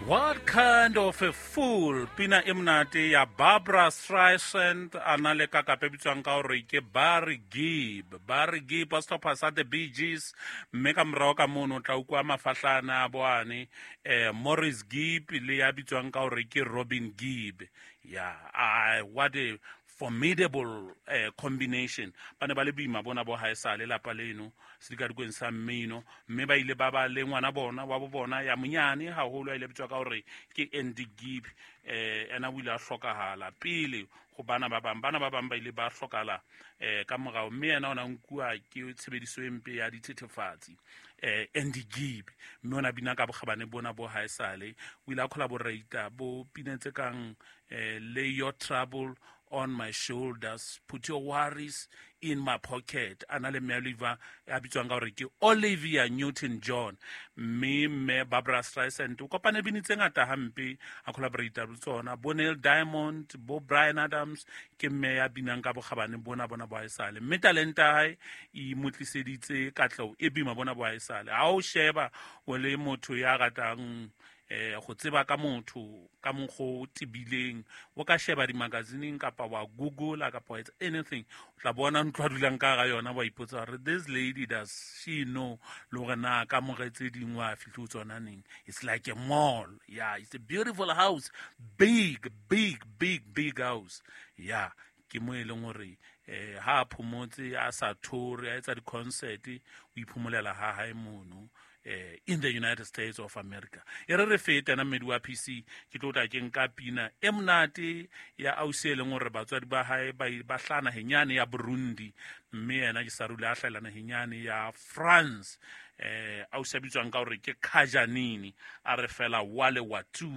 What kind of a fool pina e monate ya Barbara Streisand a na le kakape e bitswang ka gore ke Barry Gibb. Barry Gibb wa setlhopha sa The Bee Gees, mme ka morago ka mono o tla ukwa mafahlana a boane Maurice Gibb le ya bitswang ka gore ke Robin Gibb. Yeah, what a formidable combination. Ba ne ba le boima bona bo haesale lapa leno sedikadikweng sa mmino, mme ba ile ba ba le ngwana bona wa bo bona ya monyane haholo, a ile bitswa ka gore ke Andy Gibb. Ena o ile a hlokahala pele go bana ba bang. Bana ba bang ba ile ba hlokahala ka morao, mme yena o na nkuwa ke tshebediso e mpe ya dithethefatsi. Andy Gibb, mme o na bina ka bokgabane bona bo haesale. O ile a collaborata bo pina tse kang Lay Your Trouble on My Shoulders, Put Your Worries in My Pocket, a na le mme Oliver a bitswang ka gore ke Olivia Newton-John. Mme mme Barbara Streisand o kopane bini tse ngata hampe a collaborata le tsona, bo Neil Diamond, bo Bryan Adams. Ke mme ya binang ka bokgabane bona bona bo haesale, mme talenta ya hae e mo tliseditse katleho e boima bona bo haesale. Ha o sheba o le motho ya ratang go tseba ka motho ka mokgo o tebileng, o ka sheba di-magazineng kapa wa google kapa wa etsa anything, o tla bona ntlo a dulang ka ga yona, wa ipotsa gore this lady, does she know le gore na ka more tse dingwe wa fitlhe o tsona neng. It's like a mall. Yeah, it's a beautiful house, big, big, big, big house. Yeah, ke mo e leng gore ha a phomotse a sa thore a etsa di-concert, o iphomolela ha hae mono in the United States of America. E re re fete na mmedi wa PC, ke tlo tla ke nka pina e monate ya ausi e leng gore batswadi ba hae ba hlaha naheng yane ya Burundi, mme yena ke sa rule a hlahela naheng yane ya France. Ausi a bitswang ka gore ke Kajanini, a re fela wale watu.